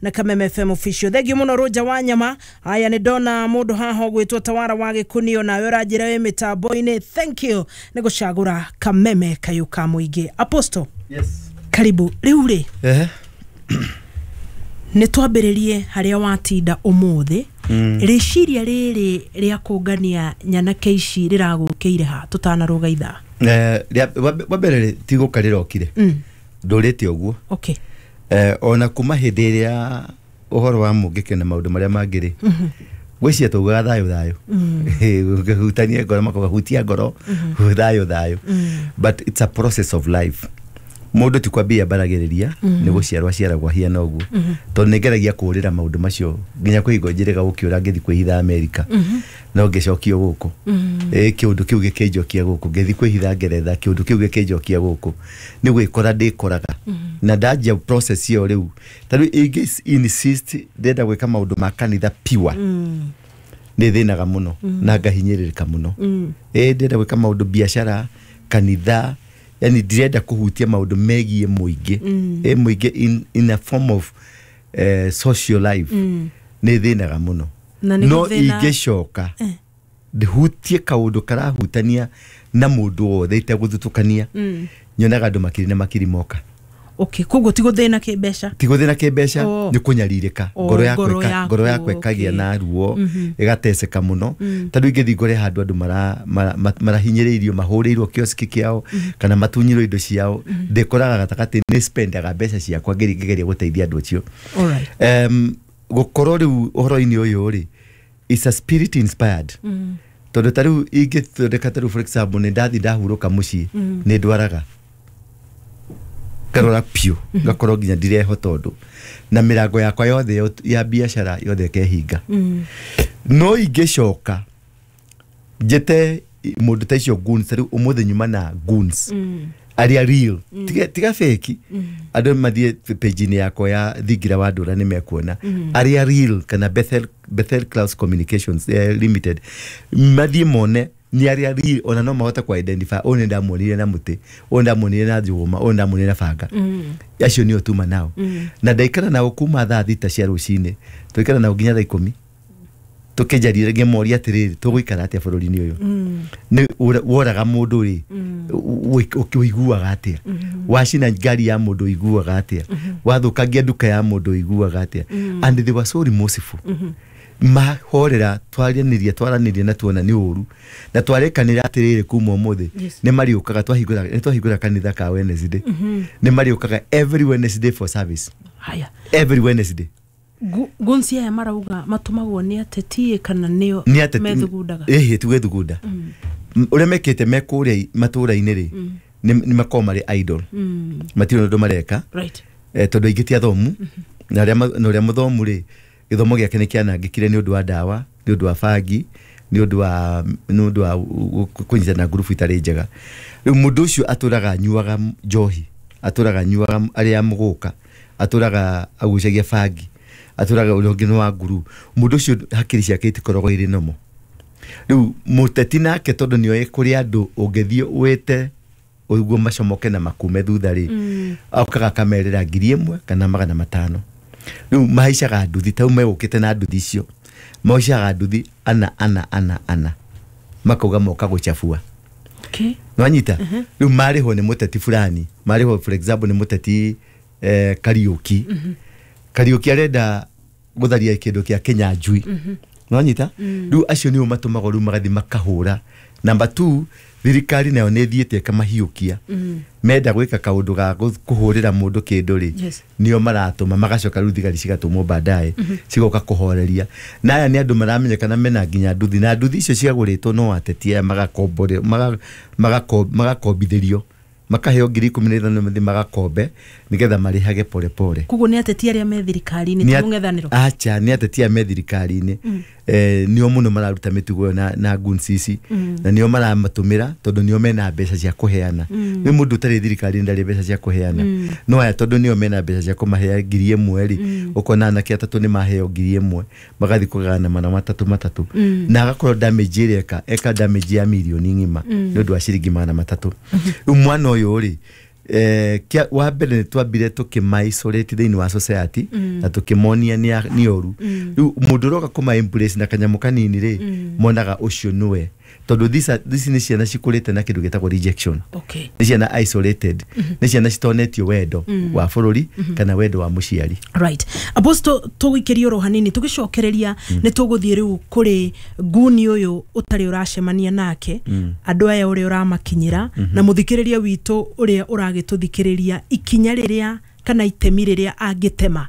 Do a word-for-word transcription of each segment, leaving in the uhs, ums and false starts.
Na Kameme F M Official. Thank you muno, Roja wa nyama. Haya, nĩ ndona mũndũ haha ũgwĩtwo Tawara wa Gĩkunio, nawe ũranjĩra wĩ mĩtambo-inĩ. Thank you nĩ gũcagũra Kameme kayũ ka mũingĩ. Apostle. Yes. Karibu. Rĩu rĩ, Ehe. nĩ twambĩrĩrie harĩa watinda ũmũthĩ. Mm. Rĩciria rĩrĩ rĩa kũngania nyanake ici rĩragũkĩire ha, tũtanarũga ithaa? Eh, rĩa- wa wa mbere rĩ, ti gũka rĩrokire, mm. ndũrĩte ũguo. okay Eh, ona kuma hĩndĩ ĩrĩa ũhoro wa mũngĩkĩ na maũndũ marĩa mangĩ rĩ, gwĩciria taugaga thayũ thayũ, ũngĩhutania ngoro makauga hutia ngoro, thayũ thayũ, but it's a process of life. Mũndũ ti kwambia mbaragĩrĩria, nĩ gũciarwo aciaragwo ahiana ũguo, tondũ nĩ ngeragia kũũrĩra maũndũ macio nginya kwĩ hingo njĩrĩga gũkĩũra ngĩthiĩ kwĩhitha Amerika, no ngĩcokio gũkũ. Ĩ kĩũndũ kĩu gĩkĩnjokia gũkũ, ngĩthiĩ kwĩhitha Ngeretha, kĩũndũ kĩu gĩkĩnjokia gũkũ. Nĩ gwĩkora ndĩkoraga na ndanjia process ĩyo. Rĩu ta rĩu ingĩ insist ndĩrenda gwĩka maũndũ ma kanitha pure, nĩ thĩnaga mũno na ngahinyĩrĩrĩka mũno. Ĩ ndĩrenda gwĩka maũndũ biacara, kanitha, yani ndirenda kũhutia maũndũ megiĩ mũingĩ, ĩ mũingĩ in, in a form of eh, social life, nĩ thĩnaga mũno. Na nĩ No gũthĩna- ingĩcoka ndĩhutie kaũndũ karahutania na mũndũ wothe itegũthutũkania, nyonaga andũ makiri na makiri moka. Okay, koguo ti gũthĩna kĩmbeca? Ti gũthĩna kĩmbeca. Oh. Nĩ kũnyarirĩka. Oh, ngoro yakwa ngoro ĩka- yaku, ngoro yakwa ĩkagĩa okay. na ruo, ĩgateceka mũno. Tondũ ingĩthiĩ ngore handũ andũ mara- mara- ma- marahinyĩrĩirio, mahũrĩirwo kioski kĩao kana matunyirwo indo ciao, ndĩkoraga gatagatĩ nĩ spendaga mbeca ciakwa ngĩri- ngĩgeria gũteithia andũ acio. Alright. um, gũkorwo rĩu ũhoro-inĩ ũyũ rĩ, is a spirit inspired, tondũ ta rĩu ingĩthondeka, ta rĩu for example nĩ ndathi ndahurũka mũciĩ, nĩ ndwaraga ngarora piũ, ngakorwo nginya ndireho, tondũ na mĩrango yakwa yothe ya- ya biacara yothe ĩkehinga. No ingĩcoka njĩte mũndũ ta icio goons, ta rĩu ũmũthĩ nyuma na goons arĩa real, tiga, tiga fake. Andũ mathiĩ page-inĩ yakwa ya Thingira wa Ndũra nĩ mekuona arĩa real, kana Bethel, Bethel Clouds Communications eh, Limited, mathiĩ mone nĩ arĩa real. Ona no mahote ku identify ũyũ nĩ ndamuonire na mũtĩ, ũyũ ndamuonire na njũgũma, ũyũ ndamuonire na banga. Acio nĩo tuma nao na ndaikara nao kuma thaa thita cia rũcinĩ, tũikara nao nginya thaa ikũmi tukĩnjarire, ngĩmoria atĩrĩrĩ, tũgũikara atĩa bũrũri-inĩ ũyũ? Nĩ ũra- woraga mũndũ rĩ, ũiguaga atĩa? Wacina ngari ya mũndũ, ũiguaga atĩa? Wathũkangia nduka ya mũndũ, ũiguaga atĩa? And they were so remorseful. Mahorera, twaranĩria twaranĩria na tuona nĩ ũru na twarĩkanĩra atĩrĩrĩ, kuma ũmũthĩ Yes. nĩ marĩũkaga. Twahingũra, nĩ twahingũra kanitha ka Wednesday, nĩ marĩũkaga every Wednesday for service. Haya. Every Wednesday. Gu- gunci aya marauga matũmagwo nĩ ateti kana nĩo Nĩ ateti. Methugundaga? Ĩhĩ, ti gwĩthugunda. Ũrĩa mekĩte me kũrĩa matũũra-inĩ rĩ, nĩ nĩ makoragwo marĩ idle, matirĩ ũndũ mareka. right eh, tondũ aingĩ ti athomu, na arĩa ma- na ũrĩa mũthomu rĩ, gĩthomo gĩake nĩ kĩanangĩkire nĩ ũndũ wa ndawa, nĩ ũndũ wa bangi, nĩ ũndũ wa nĩ ũndũ wa kũnyitana ngurubu itarĩ njega. Rĩu mũndũ ũcio atũraga anyuaga njohi, atũraga anyuaga, arĩa mũgũka, atũraga agucagia bangi, atũraga ũrĩa ũngĩ nĩ wa nguru. Mũndũ ũcio hakiri ciake itikoragwo irĩ nomo. Rĩu mũteti nake, tondũ nĩoĩ kũrĩ andũ ũngĩthiĩ wĩte ũguo macomoke na makume thutha rĩ, okaga akamerĩra ngiri ĩmwe kana magana matano. Rĩu mahaicaga nduthi, tau megũkĩte na nduthi icio, mahaicaga nduthi ana ana ana ana, makauga moka gũcabua. Okay Nwanyita, rĩu marĩhwo nĩ mũteti fulani, marĩhwo for example nĩ mũteti eh, Kariũki. Kariũki arenda gũtharia kĩndũ kĩa Kĩnyanjui, nwanyita, rĩu acio nĩo matũmagwo, rĩu magathiĩ makahũra. Number two, thirikari nayo nĩ ĩthiĩte ĩkamahiũkia. Menda gwĩka kaũndũ ga gũ- kũhũrĩra mũndũ kĩndũ rĩ, Yes. nĩo maratũma, magacoka rĩu thigari cigatũmwo baadaye cigoka kũhoreria. Na aya nĩ andũ maramenyekana mena nginya nduthi, na nduthi icio ciagũrĩtwo no ateti aya, magakombore- maga- magako- magakombithĩrio, makaheo ngiri ikũmi na ithano mathiĩ magakombe nĩgetha marĩhage pole pole. Koguo nĩ ateti arĩa me thirikari-inĩ, Nĩ ti at- mũng'ethanĩro? Acha, nĩ ateti aya me thirikari-inĩ, eh, nĩo mũno mararuta mĩtugo ĩyo na, na goons ici, na nĩo maramatũmĩra tondũ nĩo mena mbeca cia kũheana. Nĩ mũndũ ũtarĩ thirikari-inĩ ndarĩ mbeca cia kũheana, no aya tondũ nĩo mena mbeca cia kũmahea ngiri ĩmwe rĩ, ũkona anake atatũ nĩ maheo ngiri ĩmwe, magathiĩ kũgayana mana matatũ matatũ, na agakorwo damage ĩrĩa eka eka damage ya mirioni ng'ima nĩ ũndũ wa ciringi magana matatũ. Rĩu mwana ũyũ rĩ, Eh, kia wa mbere nĩ twambire tũkĩma-isolate thĩinĩ wa society na tũkĩmonia nĩ a- nĩ ũru. Rĩu mũndũ ũroka kũma embrace na kanyamũ kanini rĩ, monaga ũcio nĩwe, tondũ these are- ici nĩ ciana cikũrĩte na kĩndũ gĩtagwo rejection. Okay nĩ ciana isolated, nĩ ciana citonetio wendo wa bũrũri kana wendo wa mũciari. Right, Apostle, tũgũikĩria oro hanini, tũgĩcokereria nĩ tũgũthiĩ rĩu kũrĩ nguni ũyũ ũtarĩ ũracemania nake, andũ aya ũrĩa ũramakinyĩra, na mũthikĩrĩria witũ ũrĩa ũragĩtũthikĩrĩria, ikinya rĩrĩa kana itemi rĩrĩa angĩtema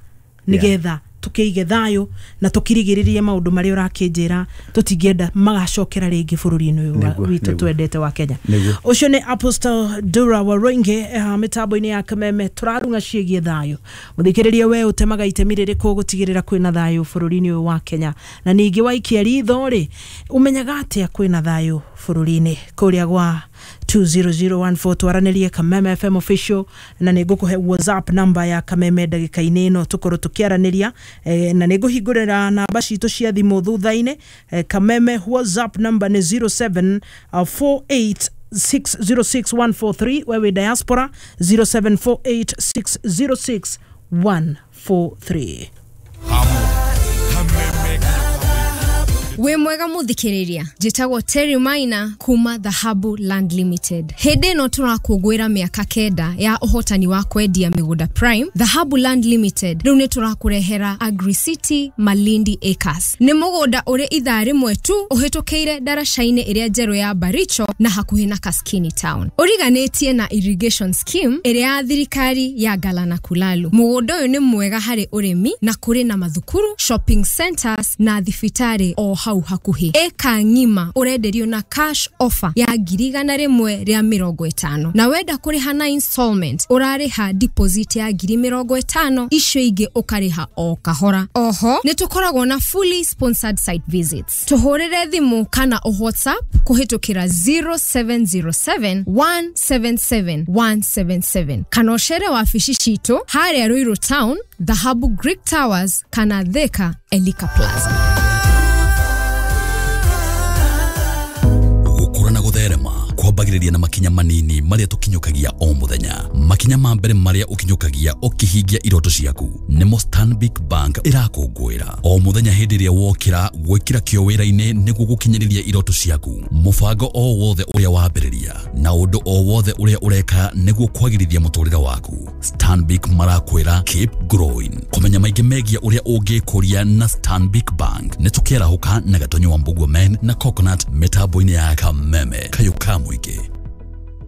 nĩgetha tũkĩige thayũ na tũkirigĩrĩrie maũndũ marĩa ũrakĩnjĩra tũtingĩenda magacokera rĩngĩ bũrũri-inĩ ũyũ wa- Nĩguo, witũ nĩguo. twendete wa Kenya. Nĩguo. Ũcio nĩ Apostle Dura Waruinge eh, mĩtambo-inĩ ya Kameme. Tũrarung'a ciĩgiĩ thayũ. Mũthikĩrĩria, we ũtemaga itemi rĩrĩkũ gũtigĩrĩra kwĩna thayũ bũrũri-inĩ ũyũ wa Kenya? Na ningĩ waikia ritho rĩ, ũmenyaga atĩa kwĩna thayũ bũrũri-inĩ? Kũrĩa gwa two zero zero one four twaranĩrie, Kameme F M Official, na nĩ ngũkũhe WhatsApp number ya Kameme ndagĩka-inĩ ĩno tũkorwo tũkĩaranĩria, eh, na nĩ ngũhingũrĩra namba citũ cia thimũ thutha-inĩ. eh, Kameme WhatsApp number nĩ zero seven four eight six zero six one four three. Wewe diaspora, zero seven four eight six zero six one four three. Wĩ mwega mũthikĩrĩria, njĩtagwo Terry Maina kuma Dhahabu Land Limited. Hĩndĩ ĩno tũrakũngũĩra mĩaka kenda ya ũhotani wa kwendia mĩgũnda prime, Dhahabu Land Limited rĩu nĩ tũrakũrehera Agri City Malindi Acres. Nĩ mũgũnda ũrĩ ithaa rĩmwe tu ũhĩtũkĩire ndaraca-inĩ ĩrĩa njerũ ya Baricho na hakuhĩ na Kaskini Town, ũriganĩtie na irrigation scheme ĩrĩa ya thirikari ya Galana Kulalu. Mũgũnda ũyũ nĩ mwega harĩ ũrĩmi na kũrĩ na mathukuru, shopping centers na thibitarĩ o hau hakuhĩ. Ĩka ng'ima ũrenderio na cash offer ya ngiri igana rĩmwe rĩa mĩrongo ĩtano, na wenda kũrĩha na installment ũrarĩha deposit ya ngiri mĩrongo ĩtano, icio ingĩ ũkarĩha o kahora. Oho nĩ tũkoragwo na fully sponsored site visits. Tũhũrĩre thimũ kana ũ WhatsApp kũhĩtũkĩra zero seven zero seven one seven seven one seven seven, kana ũcere wabici citũ harĩa Ruiru Town, Dhahabu Greek Towers, kana Thika, Elika Plaza. Gũkũra na gũtherema kwambagĩrĩria na makinya manini marĩa tũkinyũkagia o mũthenya. Makinya ma mbere marĩa ũkinyũkagia ũkĩhingia iroto ciaku nĩmo Stanbic Bank ĩrakũngũĩra o mũthenya hĩndĩ ĩrĩa wokĩra gwĩkĩra kĩo wĩra-inĩ nĩguo gũkinyĩrĩria iroto ciaku. Mũbango o wothe ũrĩa wambĩrĩria na ũndũ o wothe ũrĩa ũreka nĩguo kwagĩrithia mũtũrĩre waku, Stanbic marakwĩra keep growing. Kũmenya maingĩ megiĩ ũrĩa ũngĩkũria na Stanbic Bank, nĩ tũkĩarahũka na Gatonyo wa Mbugua Men na Coconut mĩtambo-inĩ ya Kameme kayũ ka mũingĩ.